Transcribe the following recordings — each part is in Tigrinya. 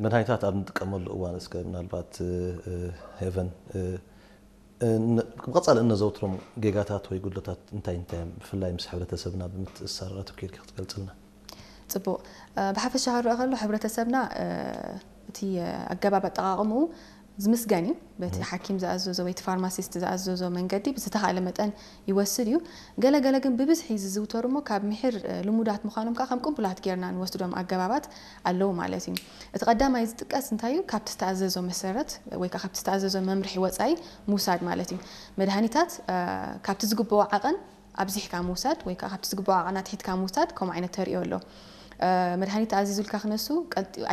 መድሃኒታት ኣብ ንጥቀመሉ እዋን እስከ ምናልባት ሄቨን፣ ብቐጻሊ እነዘውትሮም ጌጋታት ወይ ጉድለታት እንታይ እንታይ እዮም? ብፍላይ ምስ ሕብረተሰብና ብምትእስሳር ኣተኪርኪ ክትገልጽልና። ጽቡቕ። ብሓፈሻ ክረኣ ከሎ፣ ሕብረተሰብና እቲ ኣገባብ ኣጠቓቕምኡ ዝምስገን እዩ። በቲ ሓኪም ዝኣዘዞ ወይ እቲ ፋርማሲስት ዝኣዘዞ መንገዲ ብዝተኻእለ መጠን ይወስድ እዩ። ገለ ገለ ግን ብብዝሒ ዝዝውተሩ እሞ ካብ ምሒር ልሙዳት ምዃኖም ከዓ ከም ቅቡላት ጌርና ንወስዶም ኣገባባት ኣለዉ ማለት እዩ። እቲ ቀዳማይ ዝጥቀስ እንታይ እዩ? ካብቲ ዝተኣዘዞ መሰረት ወይ ከዓ ካብቲ ዝተኣዘዞ መምርሒ ወፃኢ ምውሳድ ማለት እዩ። መድሃኒታት ካብቲ ዝግብኦ ዓቐን ኣብዚሕካ ምውሳድ ወይ ከዓ ካብቲ ዝግብኦ ዓቐን ኣትሒትካ ምውሳድ ከምኡ ዓይነት ተርእዮ ኣሎ። መድሃኒት ተኣዚዙልካ ክነሱ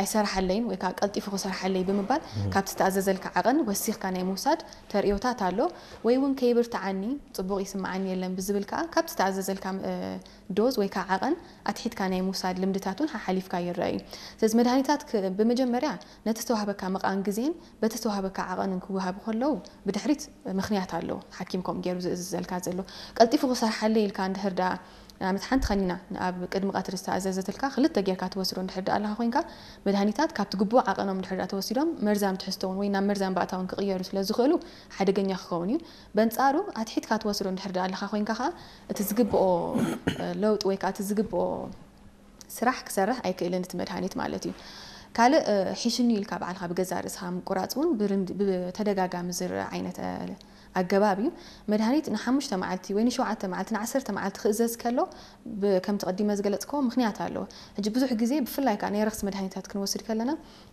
ኣይሰራሓለይን ወይ ከዓ ቀልጢፉ ክሰርሓለይ ብምባል ካብቲ ዝተኣዘዘልካ ዓቐን ወሲኽካ ናይ ምውሳድ ተርእዮታት ኣሎ። ወይ እውን ከይብርትዓኒ፣ ፅቡቕ ይስምዓኒ የለን ብዝብል ከዓ ካብቲ ዝተኣዘዘልካ ዶዝ ወይ ከዓ ዓቐን ኣትሒትካ ናይ ምውሳድ ልምድታት እውን ሓሓሊፍካ ይረአ እዩ። ስለዚ መድሃኒታት ብመጀመርያ ነቲ ዝተዋህበካ መቓን ግዜን በቲ ዝተዋህበካ ዓቐንን ክወሃቡ ከለዉ ብድሕሪት ምኽንያት ኣለዎ። ሓኪም ከምኡ ገይሩ ዝእዝዘልካ ዘሎ ቀልጢፉ ክሰርሓለይ ኢልካ እንድሕር ደኣ ንኣብነት ሓንቲ ከኒና ኣብ ቅድሚ ቀትሪ ዝተኣዘዘትልካ ክልተ ጌርካ ትወስዶ እንድሕር ደኣ ኣለኻ ኮይንካ መድሃኒታት ካብቲ ግቡእ ዓቐኖም እንድሕር ደኣ ተወሲዶም መርዛም ትሕዝቶ እውን ወይ ናብ መርዛም ባእታ እውን ክቕየሩ ስለ ዝኽእሉ ሓደገኛ ክኸውን እዩ። በንጻሩ ኣትሒትካ ትወስዶ እንድሕር ደኣ ኣለኻ ኮይንካ ከዓ እቲ ዝግብኦ ለውጢ ወይ ከዓ እቲ ዝግብኦ ስራሕ ክሰርሕ ኣይክእልን እቲ መድሃኒት ማለት እዩ። ካልእ ሒሽኒ ኢልካ ባዕልካ ብገዛእ ርእስኻ ምቁራፅ እውን ብተደጋጋሚ ዝረአ ዓይነት ኣገባብ እዩ። መድሃኒት ንሓሙሽተ መዓልቲ ወይ ንሸውዓተ መዓልቲ ንዓሰርተ መዓልቲ ክእዘዝ ከሎ ከምቲ ቀዲመ ዝገለፅክዎ ምክንያት ኣለዎ። ሕጂ ብዙሕ ግዜ ብፍላይ ከዓ ናይ ረኽሲ መድሃኒታት ክንወስድ ከለና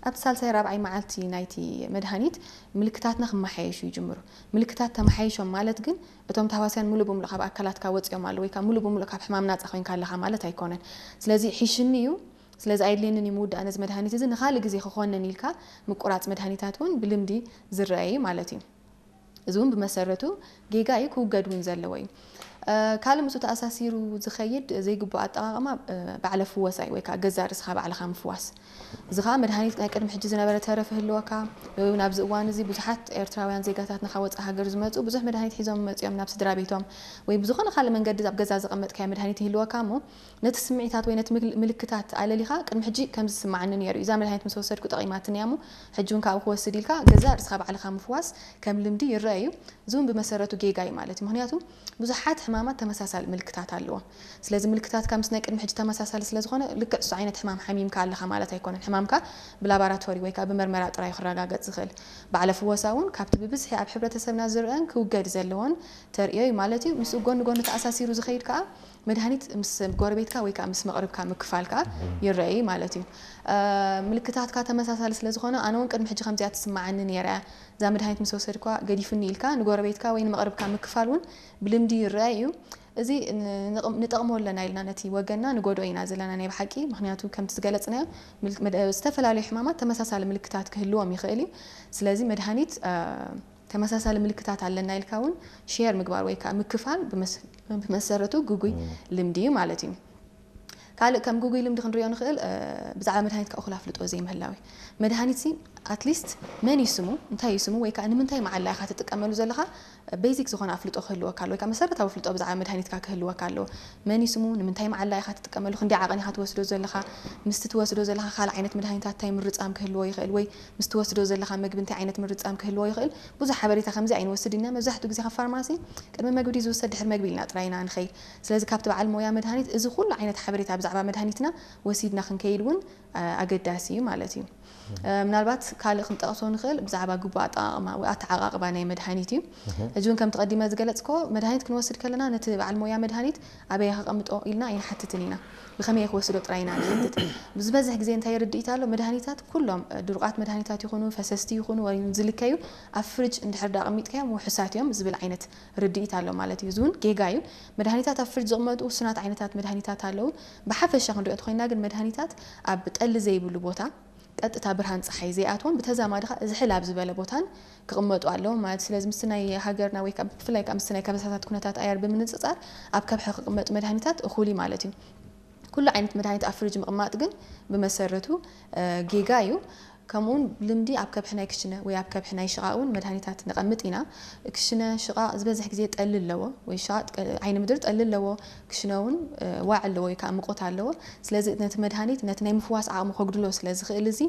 ኣብቲ ሳልሳይ ራብዓይ መዓልቲ ናይቲ መድሃኒት ምልክታትና ክመሓየሹ ይጅምሩ። ምልክታት ተመሓይሾም ማለት ግን እቶም ተሃዋስያን ሙሉእ ብሙሉእ ካብ ኣካላትካ ወፂኦም ኣለዉ ወይ ከዓ ሙሉእ ብሙሉእ ካብ ሕማም ናፃ ኮይንካ ኣለኻ ማለት ኣይኮነን። ስለዚ ሒሽኒ እዩ፣ ስለዚ ኣየድልየንን እዩ ምውዳእ ነዚ መድሃኒት እዚ ንኻልእ ግዜ ክኾነን ኢልካ ምቁራፅ መድሃኒታት እውን ብልምዲ ዝረአ እዩ ማለት እዩ። እዚ እውን ብመሰረቱ ጌጋ እዩ፣ ክውገድ እውን ዘለዎ እዩ። ካልእ ምስኡ ተኣሳሲሩ ዝኸይድ ዘይግቡእ ኣጠቓቕማ ባዕለ ፍወሳ እዩ ወይ ከዓ ገዛእ ርእስኻ ባዕልኻ ምፍዋስ። እዚ ከዓ መድሃኒት ናይ ቅድሚ ሕጂ ዝነበረ ተረፍ ይህልወካ ወይ እውን ኣብዚ እዋን እዚ ብዙሓት ኤርትራውያን ዜጋታትና ካብ ወፃኢ ሃገር ዝመፁ ብዙሕ መድሃኒት ሒዞም መፂኦም ናብ ስድራ ቤቶም ወይ ብዝኾነ ካልእ መንገዲ ኣብ ገዛ ዘቐመጥካዮ መድሃኒት ይህልወካ እሞ ነቲ ስምዒታት ወይ ነቲ ምልክታት ኣለሊኻ ቅድሚ ሕጂ ከምዚ ዝስምዓኒ ነይሩ እዩ፣ እዛ መድሃኒት ምስ ወሰድኩ ጠቒማትኒ እያ እሞ ሕጂ እውን ካብኡ ክወስድ ኢልካ ገዛእ ርእስኻ ባዕልኻ ምፍዋስ ከም ልምዲ ይረአ እዩ። እዚ እውን ብመሰረቱ ጌጋ እዩ ማለት እዩ። ምክንያቱ ብዙሓት ሕማማት ተመሳሳሊ ምልክታት ኣለዎም። ስለዚ ምልክታትካ ምስ ናይ ቅድሚ ሕጂ ተመሳሳሊ ስለ ዝኾነ ልክዕ እሱ ዓይነት ሕማም ሓሚምካ ኣለኻ ማለት ኣይኮነን። ሕማምካ ብላባራቶሪ ወይ ከዓ ብመርመራ ጥራይ ክረጋገፅ ዝኽእል። ባዕለ ፍወሳ እውን ካብቲ ብብዝሒ ኣብ ሕብረተሰብና ዝረአን ክውገድ ዘለዎን ተርእዮ እዩ ማለት እዩ። ምስኡ ጎኒ ጎኒ ተኣሳሲሩ ዝኸይድ ከዓ መድሃኒት ምስ ጎረቤትካ ወይ ከዓ ምስ መቕርብካ ምክፋል ከዓ ይረአ እዩ ማለት እዩ። ምልክታትካ ተመሳሳሊ ስለ ዝኾነ ኣነ እውን ቅድሚ ሕጂ ከምዚኣ ትስምዓኒ ነይራ እያ፣ እዛ መድሃኒት ምስ ወሰድኳ ገዲፉኒ ኢልካ ንጎረቤትካ ወይ ንመቕርብካ ምክፋል እውን ብልምዲ ይረአ እዩ። እዚ ንጠቕሞ ኣለና ኢልና ነቲ ወገንና ንጎድኦ ኢና ዘለና ናይ ብሓቂ። ምክንያቱ ከምቲ ዝገለፅናዮ ዝተፈላለዩ ሕማማት ተመሳሳሊ ምልክታት ክህልዎም ይኽእል እዩ። ስለዚ መድሃኒት ተመሳሳሊ ምልክታት ኣለና ኢልካ እውን ሼር ምግባር ወይ ከዓ ምክፋል ብመሰረቱ ግጉይ ልምዲ እዩ ማለት እዩ። ካልእ ከም ግጉይ ልምዲ ክንሪኦ ንኽእል ብዛዕባ መድሃኒትካ እኹል ኣፍልጦ ዘይምህላው እዩ። መድሃኒት ሲ ኣትሊስት መን እዩ ስሙ፣ እንታይ እዩ ስሙ ወይ ከዓ ንምንታይ መዓላ ኢኻ ትጥቀመሉ ዘለኻ ቤዚክ ዝኾነ ኣፍልጦ ክህልወካ ኣለዎ ወይ ከዓ መሰረታዊ ኣፍልጦ ብዛዕባ መድሃኒትካ ክህልወካ ኣለዎ። መን እዩ ስሙ፣ ንምንታይ መዓላ ኢኻ ትጥቀመሉ፣ ክንደይ ዓቐን ኢኻ ትወስዶ ዘለኻ፣ ምስቲ ትወስዶ ዘለኻ ካልእ ዓይነት መድሃኒታት እንታይ ምርጻም ክህልዎ ይኽእል ወይ ምስ ትወስዶ ዘለኻ መግቢ እንታይ ዓይነት ምርጻም ክህልዎ ይኽእል። ብዙሕ ሓበሬታ ከምዚ ኣይንወስድ ኢና። መብዛሕትኡ ግዜ ካብ ፋርማሲ ቅድሚ መግቢ ድዩ ዝውሰድ ድሕሪ መግቢ ኢልና ጥራይ ኢና ንኸይድ። ስለዚ ካብቲ በዓል ሞያ መድሃኒት እዚ ኩሉ ዓይነት ሓበሬታ ብዛዕባ መድሃኒትና ወሲድና ክንከይድ እውን ኣገዳሲ እዩ ማለት እዩ። ምናልባት ካልእ ክንጠቕሶ ንኽእል ብዛዕባ ግቡእ ኣጠቓቕማ ወይ ኣተዓቓቕባ ናይ መድሃኒት እዩ። ሕጂ እውን ከምቲ ቀዲመ ዝገለፅኮ መድሃኒት ክንወስድ ከለና ነቲ በዓል ሞያ መድሃኒት ኣበይ ከቐምጦ ኢልና ኣይንሓትትን ኢና። ብኸመይ ክወስዶ ጥራይ ኢና ንሓትት። ዝበዝሕ ግዜ እንታይ ርድኢት ኣሎ? መድሃኒታት ኩሎም ድሩቓት መድሃኒታት ይኹኑ ፈሰስቲ ይኹኑ ወይ ዝልከዩ ኣብ ፍርጅ እንድሕር ዳ ኣቐሚጥካዮም ውሑሳት እዮም ዝብል ዓይነት ርድኢት ኣሎ ማለት እዩ። እዚ እውን ጌጋ እዩ። መድሃኒታት ኣብ ፍርጅ ዝቕመጡ ውሱናት ዓይነታት መድሃኒታት ኣለዉ። ብሓፈሻ ክንሪኦ እንተኾይና ግን መድሃኒታት ኣብ ጠሊ ዘይብሉ ቦታ ቀጥታ ብርሃን ፀሓይ ዘይኣትዎም ብተዛማዲ ከዓ ዝሕል ኣብ ዝበለ ቦታን ክቕመጡ ኣለዎም ማለት እዩ። ስለዚ ምስቲ ናይ ሃገርና ወይ ከዓ ብፍላይ ከዓ ምስቲ ናይ ከበሳታት ኩነታት ኣየር ብምንፅፃር ኣብ ከብሒ ክቕመጡ መድሃኒታት እኹል እዩ ማለት እዩ። ኩሉ ዓይነት መድሃኒት ኣብ ፍርጅ ምቕማጥ ግን ብመሰረቱ ጌጋ እዩ። ከምኡውን ልምዲ ኣብ ከብሒ ናይ ክሽነ ወይ ኣብ ከብሒ ናይ ሽቓቕ እውን መድሃኒታት ነቐምጥ ኢና። ክሽነ ሽቓቕ ዝበዝሕ ግዜ ጠሊ ኣለዎ ወይ ሽቓቕ ዓይኒ ምድሪ ጠሊ ኣለዎ። ክሽነ እውን ዋዕ ኣለዎ ወይ ከዓ ምቆት ኣለዎ። ስለዚ ነቲ መድሃኒት ነቲ ናይ ምፍዋስ ዓቕሚ ከጉድሎ ስለ ዝኽእል እዚ